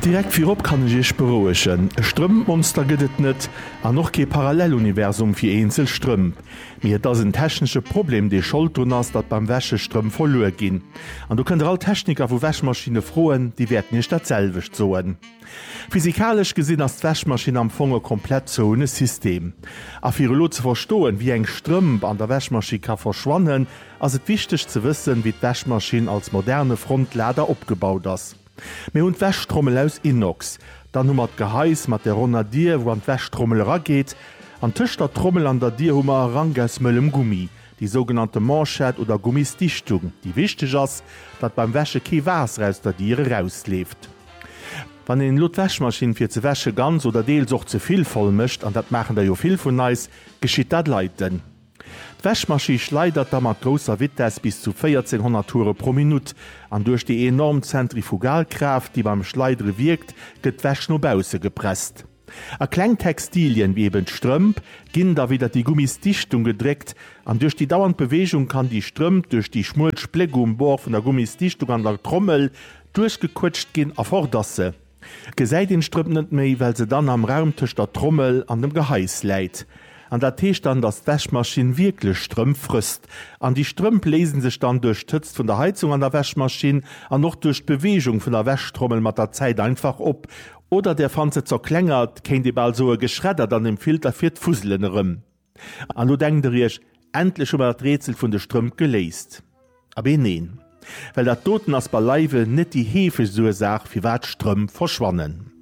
Direkt virop kann ech iech berouegen, e Strëmpmonster gëtt et net an och kee Paralleluniversum fir eenzel Strëmp. Mee et ass en technesche Problem dee Schold drun ass, datt beim Wäsche Strëmp verluer ginn. An do kënnt der all Techniker vu Wäschmaschinne froen, déi wäerten iech dat selwecht soen. Physikalesch gesinn ass d'Wäschmaschinn am Fong e komplett zouene System. A fir elo ze verstoen, wéi eng Strëmp an der Wäschmaschinn ka verschwannen, ass et wichteg ze wëssen, wéi d'Wäschmaschinn als moderne Frontlader opgebaut ass. Mir hunn d'Wäschtrommel aus Inox, dann hu mer d'Gehais mat der ronner Dier, wou an d'Wäschtrommel erageet, an tëscht der Trommel an der Dier hu mer e Rank aus mëllem Gummi, déi sougenannte Manchette oder Gummisdichtung, déi wichteg ass, datt beim Wäsche kee Waasser aus der Dier erausleeft. Wann een elo d'Wäschmaschinn fir ze wäsche ganz oder deels och ze vill voll mécht, an dat maachen der jo vill vun eis, geschitt dat leiten. D'Wäschmaschi schleidert da mat grousser Vitess bis zu 1400 Toure pro Minutt, an duerch déi enorm Zentrifugalkraaft, déi beim Schleidere wierkt, gëtt d'Wäsch no bausse gepresst. A kleng Textilien, wéi eben d'Strëmp, ginn da widder déi Gummisdichtung gedréckt, an duerch déi dauernd Beweegung kann déi Strëmp duerch déi schmuel Spléck um Bord vun der Gummisdichtung an der Trommel duerchgequëtscht ginn a fort ass se. Gesäit een d'Strëmp net méi, well se dann am Raum tëscht der Trommel an dem Gehais läit. An dat heescht dann, dass d'Wäschmaschinn wierklech Strëmp frësst. An déi Strëmp léisen sech dann duerch d'Hëtzt vun der Heizung an der Wäschmaschinn an och duerch d'Beweegung vun der Wäschtrommel mat der Zäit einfach op. Oder der fannt se zerklengert, kéint ee bal soe geschreddert an dem Filter fir d'Fuselen erëm. An lo denkt der iech, Endlech hu mer dat Rätsel vun de Strëmp geléist. Abee neen, well dat doten ass beileiwe net déi heefegst Ursaach firwat Strëmp verschwannen.